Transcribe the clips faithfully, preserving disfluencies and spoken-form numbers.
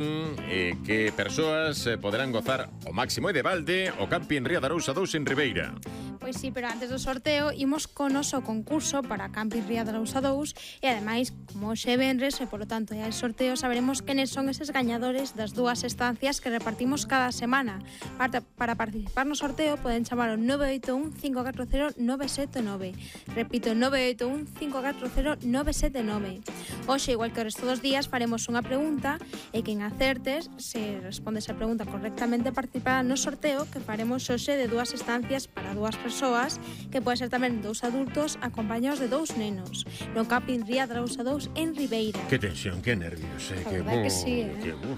eh, que persoas eh, poderán gozar o máximo e de balde o Camping Ría de Arousa dous en Ribeira. Pois sí, pero antes do sorteo imos con o noso concurso para Camping Ría de Arousa dous e ademais, como hoxe venres e polo tanto é o sorteo, saberemos quenes son eses gañadores das dúas estancias que repartimos cada semana. Para, para participar no sorteo poden chamar ao nove oito un cinco catro cero nove sete nove. Repito, nove oito un cinco catro cero nove sete nove. Hoxe, igual que o resto dos días, faremos unha pregunta e quen acertes, se respondes a pregunta correctamente, participará no sorteo que faremos hoxe de dúas estancias para dúas persoas, que pode ser tamén dous adultos acompañados de dous nenos, no Camping Ría de Arousa dous en Ribeira. Que tensión, que nervios, eh? Que, que sí, eh? Que, uh.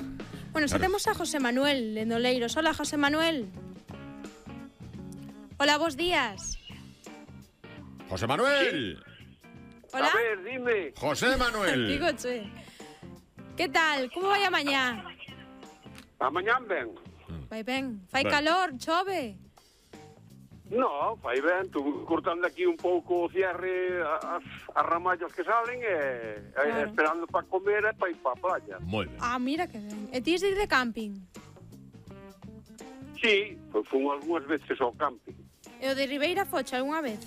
Bueno, xa temos a José Manuel de Noleiros. Hola, José Manuel. Hola, bos días. José Manuel. Sí. Hola. A ver, dime. José Manuel. Digo, che. ¿Qué tal? Como vai a mañá? A mañán ben. Vai ben. Fai Ben. calor, chove. No, fai ben, tu cortando aquí un pouco o cierre as, as ramallas que salen e, Claro. e esperando para comer e para ir para a playa. Moi ben. Ah, mira que ben. E ti de ir de camping? Sí, pues fun algunhas veces ao camping. E o de Ribeira foche algunha vez?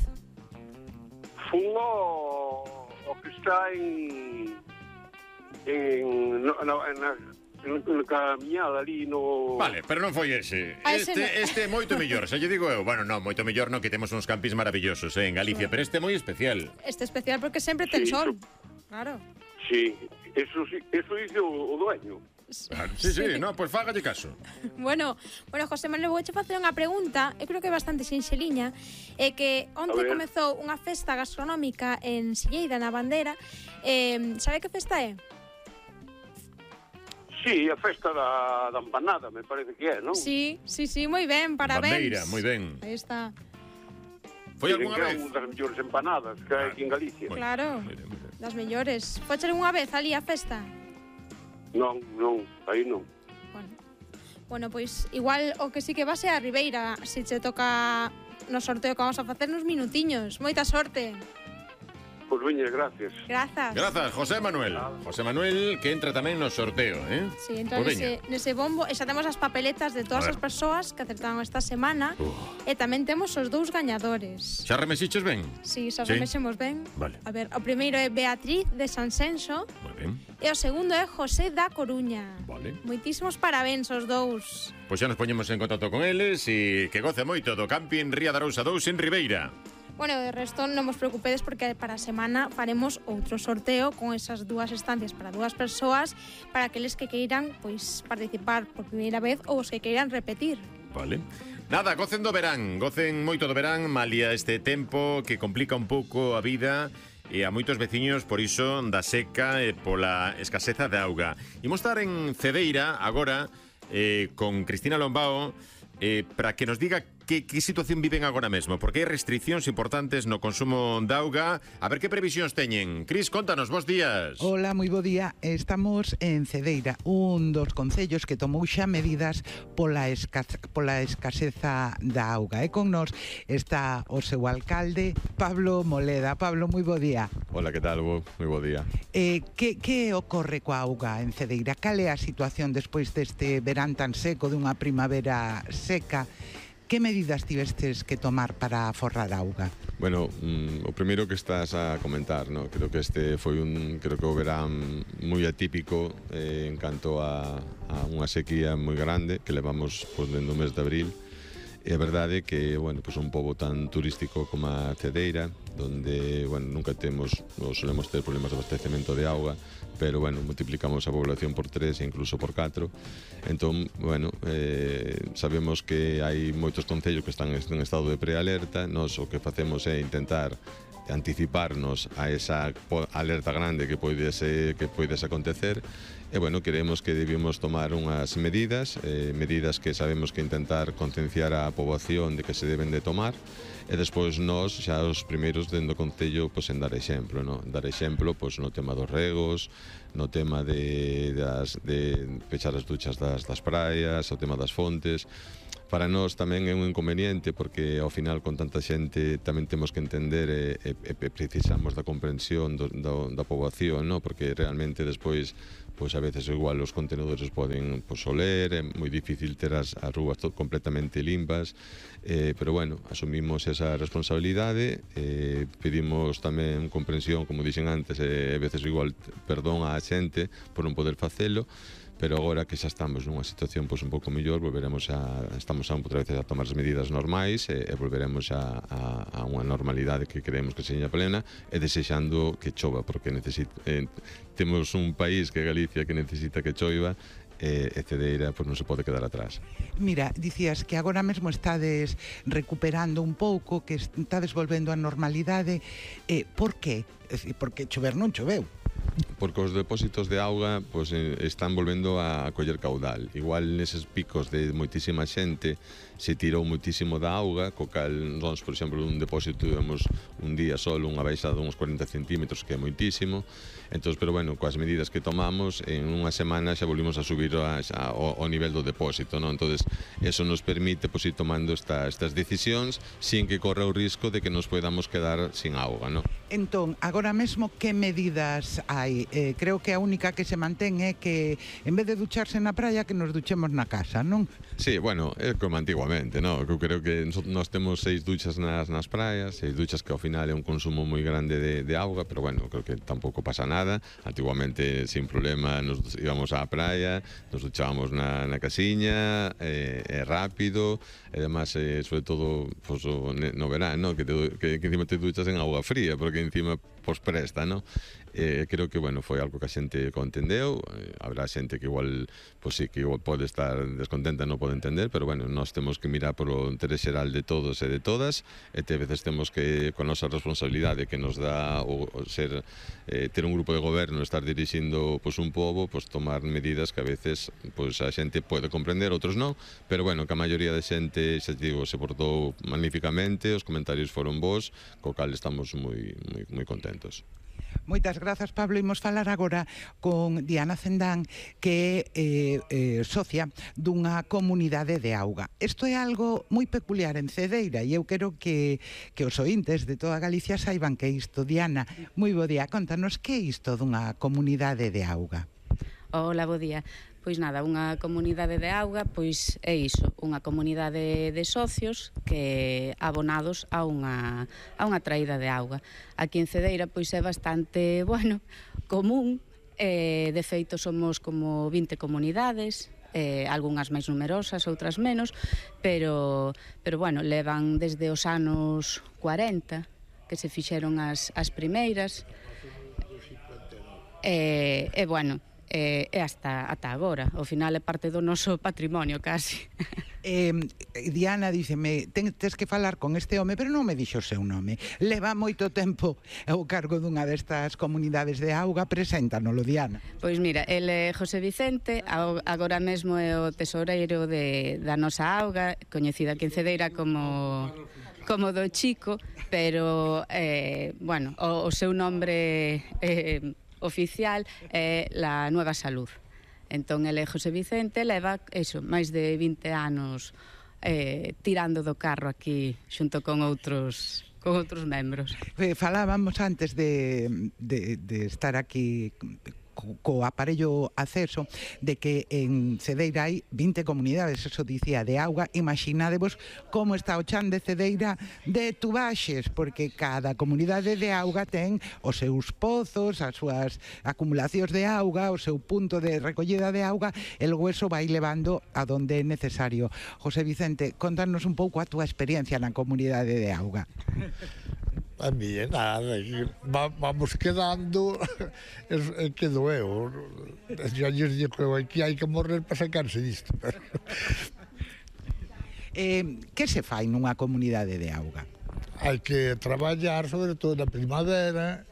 Fun o, o que está en en no, no, en na, en na camiñada ali no... Vale, pero non foi ese. Ah, ese Este, non. este é moito mellor, xa lle digo eu. Bueno, non, moito mellor non, que temos uns campings maravillosos eh, en Galicia, pero este é moi especial. Este especial porque sempre ten Sí, sol. eso- Claro. Sí, eso, sí- eso dice o, o dueño. Claro, sí, sí, no, pois pues fágalle caso. Bueno, bueno, José Manuel, vouche facer unha pregunta, eu creo que é bastante sinxeliña, é que onte A ver. comezou unha festa gastronómica en Silleida, na Bandera. Eh, sabe que festa é? Sí, a festa da, da empanada, me parece que é, non? Sí, sí, sí, moi ben, parabéns. Bandeira, moi ben. Aí está. Foi Dicen algunha que é vez? unha das mellores empanadas que hai aquí en Galicia. Moi- Claro. moi ben, moi ben. Das mellores. Foche algunha vez ali a festa? Non, non, aí non. Bueno. Bueno, pois igual o que sí que va ser a Ribeira, se che toca no sorteo que vamos a facer nos minutiños. Moita sorte. Pois veña, gracias. Grazas. Grazas, José Manuel. José Manuel, que entra tamén no sorteo, eh? Sí, entra Pois nese, veña. nese bombo e xa temos as papeletas de todas A as ver. persoas que acertaron esta semana. Uh. E tamén temos os dous gañadores. Xa remesiches ben? Si, xa Sí. remexemos ben. Vale. A ver, o primeiro é Beatriz de Sansenso Moi ben. e o segundo é José da Coruña. Vale. Moitísimos parabéns aos dous. Pois xa nos poñemos en contacto con eles e que goce moito do Camping Ría de Arousa dous en Ribeira. Bueno, de resto non vos preocupedes porque para a semana faremos outro sorteo con esas dúas estancias para dúas persoas para aqueles que queiran pois participar por primeira vez ou os que queiran repetir. Vale. Nada, gocen do verán, gocen moito do verán, malia este tempo que complica un pouco a vida e a moitos veciños por iso da seca e pola escaseza de auga. Imos estar en Cedeira agora eh, con Cristina Lombao eh, para que nos diga que, que situación viven agora mesmo, porque hai restriccións importantes no consumo de auga. A ver que previsións teñen. Cris, contanos, bos días. Hola, moi bo día. Estamos en Cedeira, un dos concellos que tomou xa medidas pola, esca pola escaseza da auga. E con nos está o seu alcalde, Pablo Moleda. Pablo, moi bo día. Hola, que tal? Bo, moi bo día. Eh, que, que ocorre coa auga en Cedeira? Cal é a situación despois deste verán tan seco, dunha primavera seca? Que medidas tivestes que tomar para aforrar auga? Bueno, mm, o primeiro que estás a comentar, no? Creo que este foi un, creo que o verán moi atípico eh, en canto a, a unha sequía moi grande que levamos pues, dentro do mes de abril. E a verdade é que, bueno, pues un pobo tan turístico como a Cedeira, donde, bueno, nunca temos, ou solemos ter problemas de abastecemento de auga, pero, bueno, multiplicamos a población por tres e incluso por catro. Entón, bueno, eh, sabemos que hai moitos concellos que están en estado de prealerta. Nós o que facemos é intentar anticiparnos a esa alerta grande que poidese, que poidese acontecer. E, bueno, queremos que debemos tomar unhas medidas, eh, medidas que sabemos que intentar concienciar a poboación de que se deben de tomar, e despois nós, xa os primeiros dentro do concello, pois en dar exemplo, no? Dar exemplo pois no tema dos regos, no tema de, das, de pechar as duchas das, das praias, o tema das fontes. Para nós tamén é un inconveniente porque ao final con tanta xente tamén temos que entender e, e, e precisamos da comprensión do, do, da poboación, no? Porque realmente despois pois a veces igual os contenedores poden pois, oler, é moi difícil ter as, as rúas completamente limpas, eh, pero bueno, asumimos esa responsabilidade, eh, pedimos tamén comprensión, como dixen antes, e eh, a veces igual perdón á xente por non poder facelo, pero agora que xa estamos nunha situación pois un pouco mellor, volveremos a estamos a outra vez a tomar as medidas normais e, e volveremos a, a, a unha normalidade que creemos que seña plena e desexando que chova, porque necesita, eh, temos un país que é Galicia que necesita que choiva e, e Cedeira pois non se pode quedar atrás. Mira, dicías que agora mesmo estades recuperando un pouco, que estades volvendo á normalidade, eh, por qué? É dicir, porque chover non choveu. Porque os depósitos de auga pois, están volvendo a coller caudal. Igual neses picos de moitísima xente se tirou moitísimo da auga, co cal, nós, por exemplo, un depósito tuvemos un día solo unha baixada de uns cuarenta centímetros, que é moitísimo. Entón, pero bueno, coas medidas que tomamos, en unha semana xa volvimos a subir a, a, o, o nivel do depósito, non? Entón, eso nos permite pois, ir tomando esta, estas decisións sin que corra o risco de que nos podamos quedar sin auga, non? Entón, agora mesmo, que medidas hai? Eh, creo que a única que se mantén é que, en vez de ducharse na praia, que nos duchemos na casa, non? Sí, bueno, é como antiguamente, non? Eu creo que nós temos seis duchas nas, nas praias, seis duchas que ao final é un consumo moi grande de, de auga, pero bueno, creo que tampouco pasa nada. Antiguamente, sin problema, nos íbamos á praia, nos duchábamos na, na casiña, é eh, eh, rápido, e además, eh, sobre todo, pues, no verano, que, te, que, que encima te duchas en auga fría, porque encima pues presta, non? Eh, creo que, bueno, foi algo que a xente contendeu, eh, habrá xente que igual, pues sí, que igual pode estar descontenta, non pode entender, pero, bueno, nós temos que mirar polo interés xeral de todos e de todas, e te veces temos que, con a nosa responsabilidade que nos dá o, o ser, eh, ter un grupo de goberno, estar dirixindo, pues, un pobo, pues, tomar medidas que a veces, pues, a xente pode comprender, outros non, pero, bueno, que a maioría de xente, xa digo, se portou magníficamente, os comentarios foron bons, co cal estamos moi, moi, moi contentos. Moitas grazas, Pablo. Imos falar agora con Diana Cendán, que é eh, eh, socia dunha comunidade de auga. Isto é algo moi peculiar en Cedeira e eu quero que, que os ointes de toda Galicia saiban que isto. Diana, moi bo día. Contanos, que é isto dunha comunidade de auga? Hola, bo día. Pois nada, unha comunidade de auga, pois é iso, unha comunidade de socios que abonados a unha, a unha traída de auga. Aquí en Cedeira, pois é bastante, bueno, común, eh, de feito somos como vinte comunidades, eh, algunhas máis numerosas, outras menos, pero, pero bueno, levan desde os anos cuarenta, que se fixeron as, as primeiras, e, e bueno, e eh, hasta ata agora, ao final é parte do noso patrimonio casi. Eh, Diana díceme, ten, tes que falar con este home, pero non me dixo o seu nome. Leva moito tempo ao cargo dunha destas comunidades de auga. Preséntanolo, Diana. Pois mira, el é José Vicente, agora mesmo é o tesoureiro de, da nosa auga, coñecida aquí en Cedeira como como do Chico, pero eh, bueno, o, o seu nombre eh, oficial é la Nueva Salud. Entón, ele é José Vicente, leva, eso, máis de vinte anos eh, tirando do carro aquí xunto con outros con outros membros. Falábamos antes de, de, de estar aquí co, co aparello acceso de que en Cedeira hai vinte comunidades, eso dicía, de auga. Imaginadevos como está o chan de Cedeira de Tubaxes, porque cada comunidade de auga ten os seus pozos, as súas acumulacións de auga, o seu punto de recollida de auga, e logo eso vai levando a donde é necesario. José Vicente, contanos un pouco a túa experiencia na comunidade de auga. A mí é nada, vamos quedando, é que doeu. Já lles digo que hai que morrer para sacarse disto. Eh, que se fai nunha comunidade de auga? Hai que traballar, sobre todo na primavera,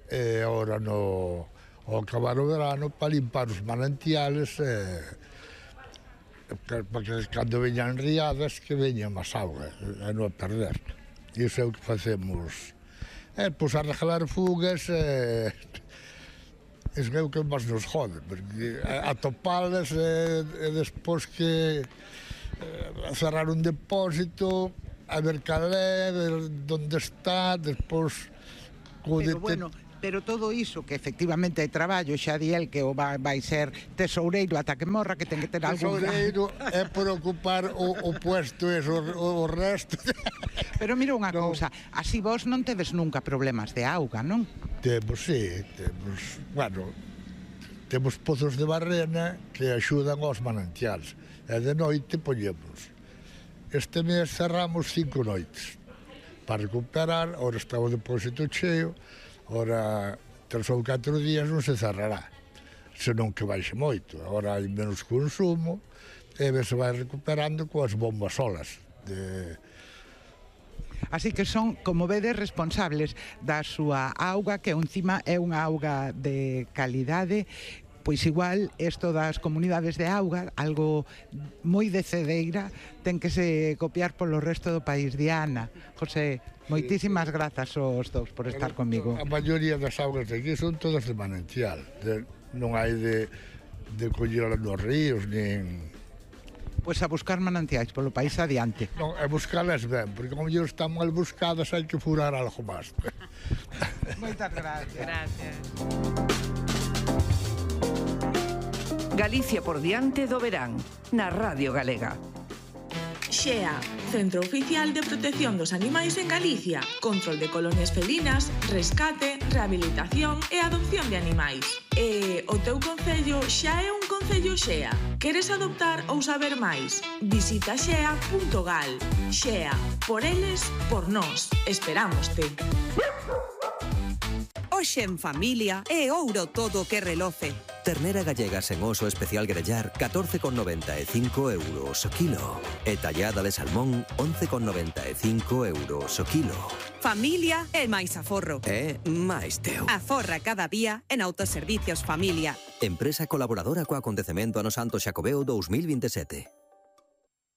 e agora no, ao acabar o verano, para limpar os manantiales, e, para que cando veñan riadas, que veñan máis auga, e non a perder. Iso é o que facemos. É, pois, arreglar fugas, e... iso é o que máis nos jode, porque atopalas e, e despois que e, cerrar un depósito, a ver cal é, ver onde está, despois... Pero bueno, Pero todo iso, que efectivamente é traballo, xa di el que o vai, vai ser tesoureiro ata que morra, que ten que ter algún... Tesoureiro é por ocupar o, o puesto eso, o, o resto. Pero mira unha no. cousa, así vos non tedes nunca problemas de auga, non? Temos, sí, temos, bueno, temos pozos de barrena que axudan aos manantiales. E de noite poñemos. Este mes cerramos cinco noites para recuperar, ora está o depósito cheo, ora tres ou catro días non se cerrará, senón que baixe moito. Agora hai menos consumo e se vai recuperando coas bombas solas. De... Así que son, como vedes, responsables da súa auga, que encima é unha auga de calidade. Pois igual, isto das comunidades de auga, algo moi de Cedeira, ten que se copiar polo resto do país. Diana, José, moitísimas grazas aos dous por estar comigo. A maioría das augas de aquí son todas de manantial, de, non hai de, de collelas nos ríos, nin... Pois a buscar manantiais polo país adiante. Non, a buscalas ben, porque como mellor están mal buscadas, hai que furar algo máis. Moitas gracias. Gracias. Galicia por diante do verán, na Radio Galega. Xea, Centro Oficial de Protección dos Animais en Galicia. Control de colonias felinas, rescate, rehabilitación e adopción de animais. E o teu concello xa é un concello Xea. Queres adoptar ou saber máis? Visita xea punto gal. Xea, por eles, por nós. Esperámoste. Hoxe en familia é ouro todo que reloce. Ternera gallega sen oso especial grellar catorce con noventa e cinco euros o kilo. E tallada de salmón once con noventa e cinco euros o kilo. Familia é máis aforro. É máis teu. Aforra cada día en Autoservicios Familia. Empresa colaboradora co acontecemento ano Santo Xacobeo dous mil vinte e sete.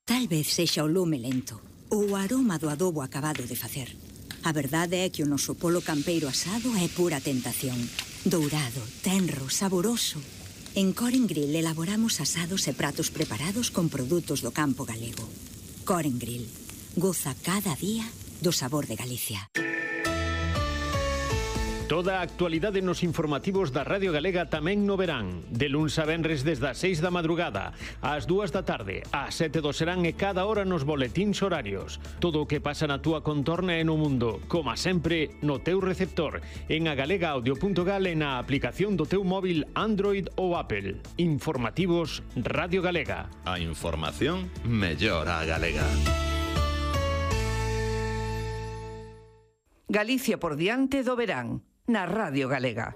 Tal vez sexa o lume lento ou o aroma do adobo acabado de facer. A verdade é que o noso polo campeiro asado é pura tentación. Dourado, tenro, saboroso. En Coren Grill elaboramos asados e pratos preparados con produtos do campo galego. Coren Grill. Goza cada día do sabor de Galicia. Toda a actualidade nos informativos da Radio Galega tamén no verán. De luns a venres desde as seis da madrugada, ás dúas da tarde, ás sete do serán e cada hora nos boletíns horarios. Todo o que pasa na túa contorna e no mundo, como sempre, no teu receptor, en agalega audio punto gal e na aplicación do teu móvil Android ou Apple. Informativos Radio Galega. A información mellor a galega. Galicia por diante do verán, na Radio Galega.